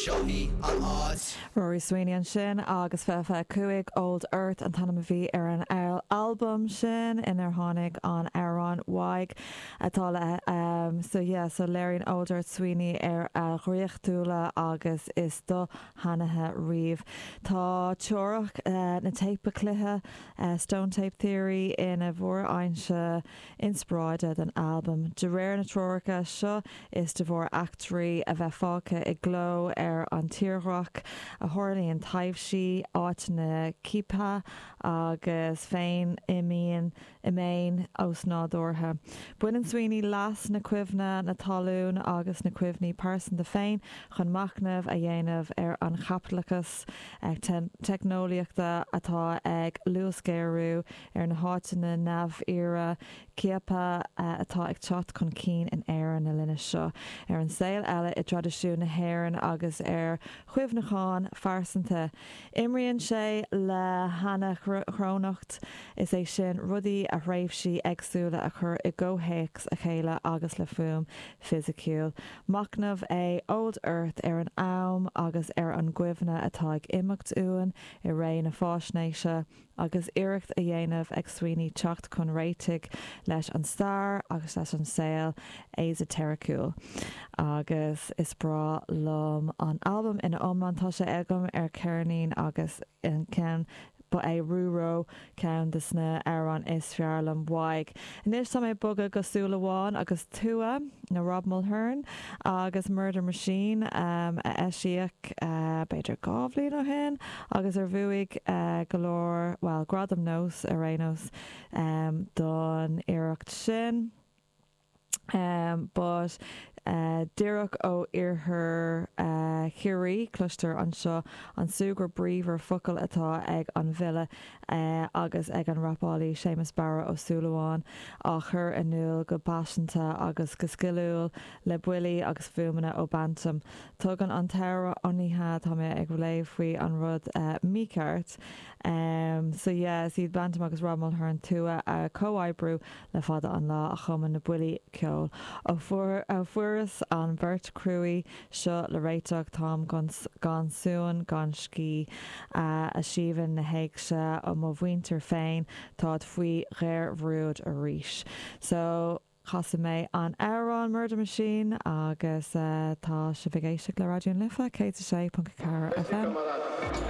Seo í an áit. Rory Sweeney ansin agus 2025 Old Earth an t-ainm a bhí ar an albam sin inar tháinig an amhrán Why atá le so yeah so léiríonn Old Earth Sweeney ar a dhraíochtúla agus is doshainithe riamh. Tá teoiric na téipe cloiche, Stone Tape Theory, ina mhórfhoinse inspioráide don albam. De réir na teoirice seo, is de bharr eachtraí a bheith fágtha i gcló ar an tírdhreach a tharlaíonn taibhsí, áiteanna ciaptha agus feiniméin osnádúrtha. Baineann Sweeney leas na cuimhne, na talún agus na cuimhní pearsanta féin chun machnamh a dhéanamh ar an chaipitleachas teicneolaíochta atá ag luasghéarú, ar na háiteanna neamhfhíora, ciaptha atá ag teacht chun cinn in Éirinn na linne seo, ar an saol eile i dtraidisiún na hÉireann agus ar chuimhneacháin phearsanta. Imríonn sé le hanachrónacht, is é sin, rudaí ó thréimhsí éagsúla a chur i gcomhthéacs a chéile agus le fuaim fisiciúil. Machnamh é Old Earth ar an am agus ar an gcuimhne atá ag imeacht uainn i ré na faisnéise, agus iarracht á dhéanamh ag Sweeney teacht chun réitigh leis an stair agus leis an saol eiséiriciúil. Agus is breá liom an albam ina iomlán, tá sé agam ar cheirnín agus an ceann, ba é Rú Ró ceann de na amhráin is fearr liom uaidh. Anois tá mé ag bogadh go Súil Amháin agus Tua, nó Rob Mulhern, agus Murder Machine a eisíodh b'fhéidir 2 bhliain ó shin agus ar bhuaigh go leor, bhuel, Gradam Nós ar aon nós don iarracht sin. But díreach ó iarthar Chiarraí, cloistear anseo an súgradh bríomhar focal atá ag an bhfile agus ag an rapálaí Séamus Barra Ó Súilleabháin á chur in iúl go paiseanta agus go sciliúil le buillí agus fuaimeanna ó Bantum. Tugann an t-amhrán, ó ní hea, tá mé ag léamh faoi an rud mícheart. So yeah, is iad Bantum agus Rob Mulhern Tua ag comhoibriú Le fada an lá a chumann na buillí ceoil. Ó fuaireas an bheart chruaidh seo le réiteach táim gan suan gan scíth. A Shiobhán na héigse ó mo mhuintir féin táid faoi ghéarbhrúid arís. So casfaidh mé an amhrán Murder Machine agus tá sibh ag éisteacht le Raidió na Life 106.4 FM.